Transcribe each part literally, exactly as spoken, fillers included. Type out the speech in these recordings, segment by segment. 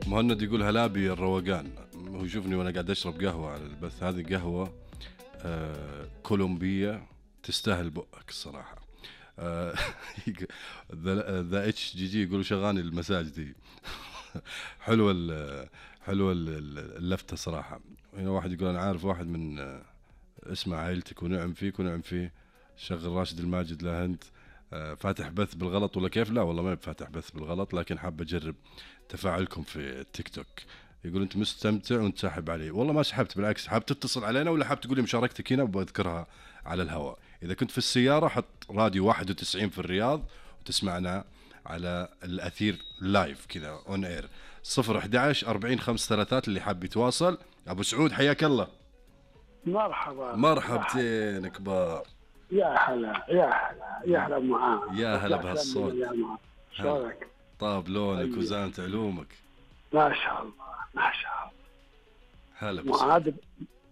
مهند يقول هلابي الروقان. هو يشوفني وانا قاعد اشرب قهوه على البث. هذه قهوه آه كولومبيه تستاهل بقك الصراحه. آه ذا اتش جي جي يقولوا شغاني المساجدي. حلوه حلوه اللفته صراحه. هنا واحد يقول انا عارف واحد من آه اسمع عائلتك ونعم فيك ونعم فيه. شغل راشد الماجد لا انت آه فاتح بث بالغلط ولا كيف؟ لا والله ما فاتح بث بالغلط، لكن حاب اجرب تفاعلكم في التيك توك. يقول انت مستمتع وانت ساحب علي. والله ما سحبت، بالعكس حاب تتصل علينا ولا حاب تقولي مشاركتك هنا وبذكرها على الهواء. اذا كنت في السياره حط راديو واحد وتسعين في الرياض وتسمعنا على الاثير لايف كذا اون اير. صفر احد عشر أربعين خمسة ثلاثات اللي حاب يتواصل. ابو سعود حياك الله. مرحبا. مرحبتين كبار. يا هلا يا هلا يا هلا معاه. يا هلا بهالصوت. شلونك؟ طاب لونك وزانت علومك. ما شاء الله ما شاء الله. هلا معاذ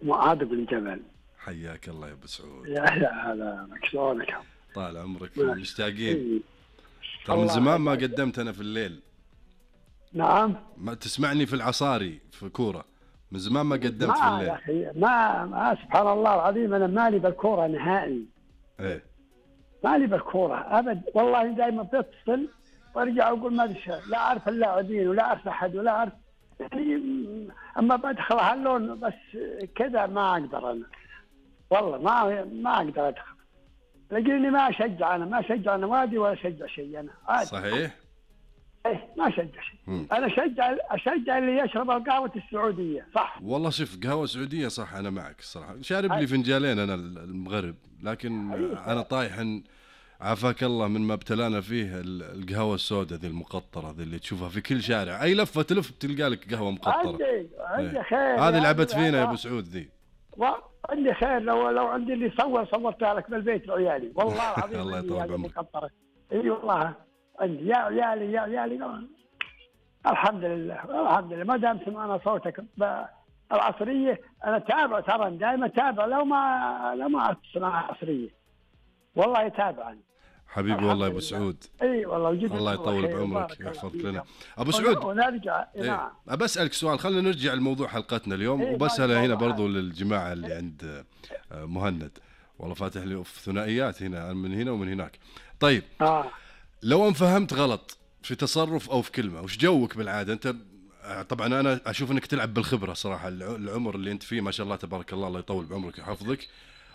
معاذ بن جبل. حياك الله يا ابو سعود. يا يا هلا شلونك؟ طال عمرك مشتاقين. ترى من زمان ما قدمت انا في الليل. نعم. ما تسمعني في العصاري في كوره. من زمان ما قدمت ما في الليل. يا اخي ما, ما سبحان الله العظيم انا مالي بالكوره نهائي. ايه مالي بالكوره ابد والله. دائما بتصل وارجع اقول ما ادري لا اعرف اللاعبين ولا اعرف احد ولا اعرف يعني. اما بدخل هاللون بس كذا ما اقدر انا والله ما ما اقدر ادخل. لقيني ما اشجع انا ما اشجع نوادي ولا اشجع شيء انا عادي. صحيح. ايه ما اشجع شيء. انا اشجع اشجع اللي يشرب القهوه السعوديه صح. والله شوف قهوه سعوديه صح. انا معك الصراحه. شارب لي فنجالين انا المغرب، لكن انا طايح عافاك الله من ما ابتلانا فيه القهوه السوداء ذي المقطره ذي اللي تشوفها في كل شارع. اي لفه تلف تلقى لك قهوه مقطره. عندي عندي خير. هذه لعبت فينا يا ابو سعود ذي. عندي خير. لو لو عندي اللي صور صورتها لك بالبيت لعيالي والله العظيم. الله يطول بعمرك. اي والله عندي يا عيالي يا عيالي. الحمد لله الحمد لله ما دام سمعنا صوتك العصريه. انا تابع ترى دائما تابع لو ما لو ما اسمع العصريه والله يتابعني حبيبي والله يا ابو سعود. اي والله وجد الله يطول بعمرك ويحفظك لنا ابو سعود. ونرجع نعم إيه. بسالك سؤال. خلينا نرجع لموضوع حلقتنا اليوم. إيه وبسأله هنا برضو للجماعه اللي عند مهند. والله فاتح لي في ثنائيات هنا من هنا ومن هناك. طيب آه. لو ان فهمت غلط في تصرف او في كلمه وش جوك بالعاده انت؟ طبعا انا اشوف انك تلعب بالخبره صراحه. العمر اللي انت فيه ما شاء الله تبارك الله الله يطول بعمرك ويحفظك.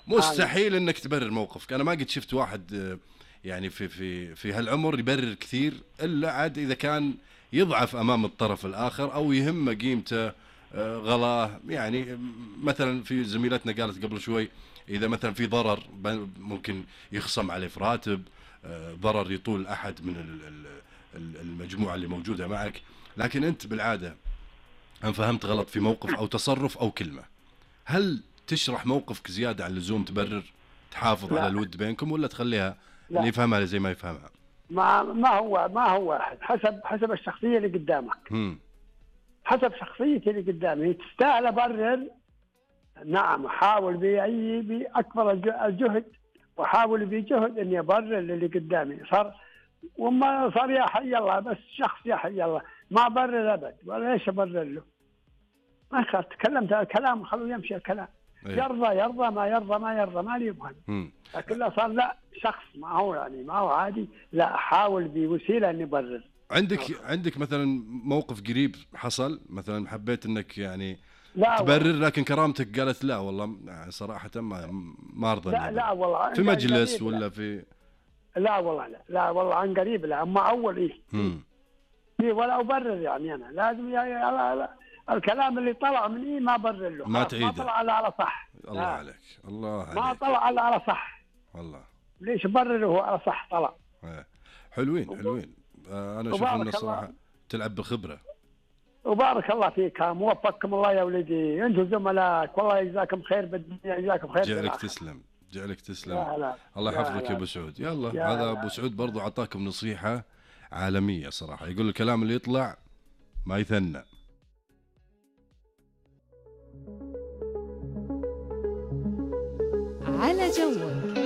مستحيل انك تبرر موقفك. انا ما قد شفت واحد يعني في في في هالعمر يبرر كثير الا عاد اذا كان يضعف امام الطرف الاخر او يهمه قيمته غلاه. يعني مثلا في زميلتنا قالت قبل شوي اذا مثلا في ضرر ممكن يخصم عليه في راتب، ضرر يطول احد من المجموعه اللي موجوده معك. لكن انت بالعاده ان فهمت غلط في موقف او تصرف او كلمه، هل تشرح موقفك زياده عن اللزوم تبرر تحافظ لا. على الود بينكم ولا تخليها لا. اللي يفهمها زي ما يفهمها؟ ما ما هو ما هو واحد حسب حسب الشخصيه اللي قدامك. م. حسب شخصيتي اللي قدامي تستاهل ابرر. نعم احاول باي باكبر الجهد واحاول بجهد اني ابرر اللي قدامي. صار وما صار يا حي الله بس شخص يا حي الله ما برر ابد ولا ايش ابرر له. ما خلاص تكلمت الكلام خلوه يمشي الكلام. أيه. يرضى يرضى ما يرضى ما يرضى ما لي يبغى. لكن لا صار لا شخص ما هو يعني ما هو عادي. لا احاول بوسيله اني ابرر. عندك أوه. عندك مثلا موقف قريب حصل مثلا حبيت انك يعني لا تبرر لكن كرامتك قالت لا والله صراحه ما ما ارضى. لا لا والله في مجلس ولا في لا والله لا لا والله عن قريب لا. اما اول ايه امم ولا ابرر يعني انا لازم يا لا لا الكلام اللي طلع من ايه ما برر له. ما تعيده. ما طلع على على صح. الله لا. عليك الله عليك. ما طلع على على صح والله. ليش برره هو على صح طلع. ايه حلوين حلوين. آه انا اشوف ان الصراحه تلعب بالخبره. وبارك الله فيك موفقكم الله يا ولدي انتم زملائك والله يجزاكم خير بالدنيا يجزاكم خير. جعلك تسلم جعلك تسلم. لا الله يحفظك يا ابو سعود. يلا هذا ابو سعود برضو عطاكم نصيحه عالميه صراحه. يقول الكلام اللي يطلع ما يثنى. على جوك.